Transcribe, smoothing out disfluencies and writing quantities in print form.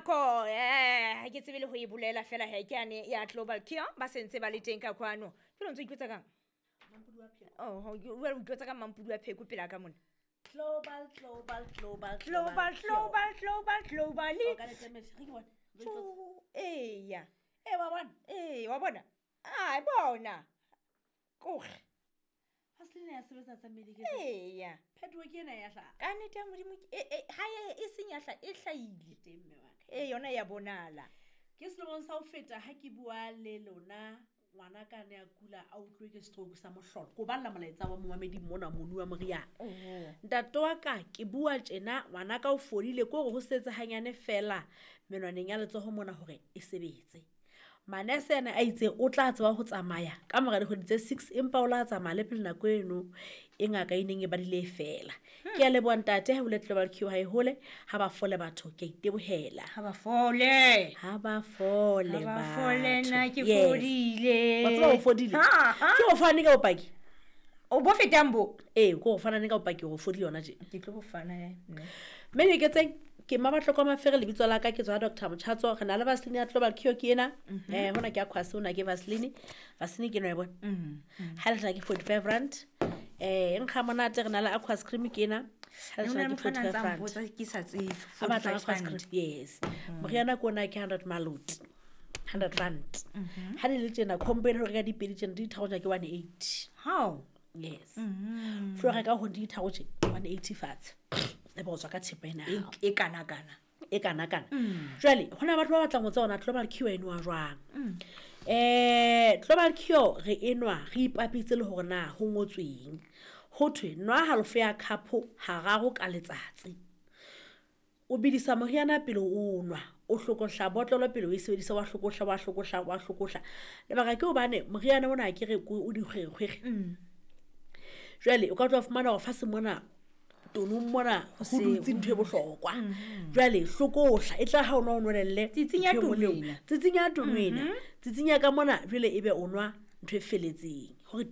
Nako ha ke tsebe le ho e bolela fela he, ke yane ya Global Cure, ba sentse ba le teng ka kwano. Jwale o ntso itlotsa kang? Oh, o itlotsa ka mampudi wa pheko pela ka mona. Global, global, global, global, global, global, global. O ka letemele, re ke bone. Re itlotsa. Tjo, eya. Ee, wa bona? Ee, wa bona? Ai, bona. Koge. Vaseline ya sebetsa tsa mmele ke. Eya. Phetoho ke ena ya hlaha. Ka nnete ya Modimo, ha e seng ya hlaha, e hlahile. Teng mme wa ka. Ee, yona ya bonala. Ke selemong sa ho feta ha ke bua le lona, ngwana ka ne a kula a utlwe ke stroke sa mohlolo. Ko balla molaetsa wa momamedi mona monu wa moriana. Ntate wa ka, ke bua tjena, ngwana ka o fodile, ke hore ho setse hanyane fela menwaneng ya letsoho mona hore e sebetse. Manese ana a itse o tla tseba ho tsamaya ka mora dikgwedi tse 6, empa o la tsamaya le pele nako eno e ngaka e neng e badile e fela. Ke a leboha ntate, ha o le Global Cure ha e hole, ha ba fole batho, ke a itebohela. Ha ba fole. Ha ba fole Ha ba fole, batho. nna ke Yes. fodile. Wa tseba o fodile? Ha, ha. Ke o fane ka bopaki? O bo fetang bo? Ee, ke o fana ka bopaki hore o fodile yona tje. Ke tlo bo fana, mme. Mme Nyeketseng, ke Mmabatloko Mafere, lebitso la ka ke tswa Doctor Motjhatso. Re na le Vaseline ya Global Cure ke ena. Hona ke Aquas, hona ke Vaseline. Vaseline ke ena wa e bona. Ha le tla ke 45 rand. E nkga monate, re na le Aquas cream ke ena. Ha le Ne tla ho na le ke motho a 45 nang rand. mpotsa ke sa tsebe. Ha batla 45 Aquas rand. cream, yes. Moriana ke ona ke 100 maloti. 100 rand. Ha le le tjena combo ena ho reka dipedi tjena di tharo tjena ke 180. How? Yes. Flo reka ho di tharo tje 180 fatshe. E bo tswa ka thepa ena ya hao. E kana kana. E kana kana. Jwale hona batho ba batlang ho tseba hore na Global Cure e nwa jwang. Global Cure re enwa re ipapitse le hore na ho ngotsweng. Ho thwe nwa halofo ya cup hararo ka letsatsi. O bidisa moriana pele o nwa, o hlokohla botlolo pele o e sebedisa, wa hlokohla, wa hlokohla, wa hlokohla. Lebaka ke hobane moriana ona ke re o dikgwerekgwere. Jwale o ka tla fumana hore fatshe mona tonong mona ho se dutse ntho e bohlokwa. Jwale hlokohla e tla ha o nwa o nwelelle Tsitsinya ntho e nngwe le tono nngwe. ena. Tsitsinya tono ena. Tsitsinya ka mona jwale ebe o nwa ntho e feletseng. Hore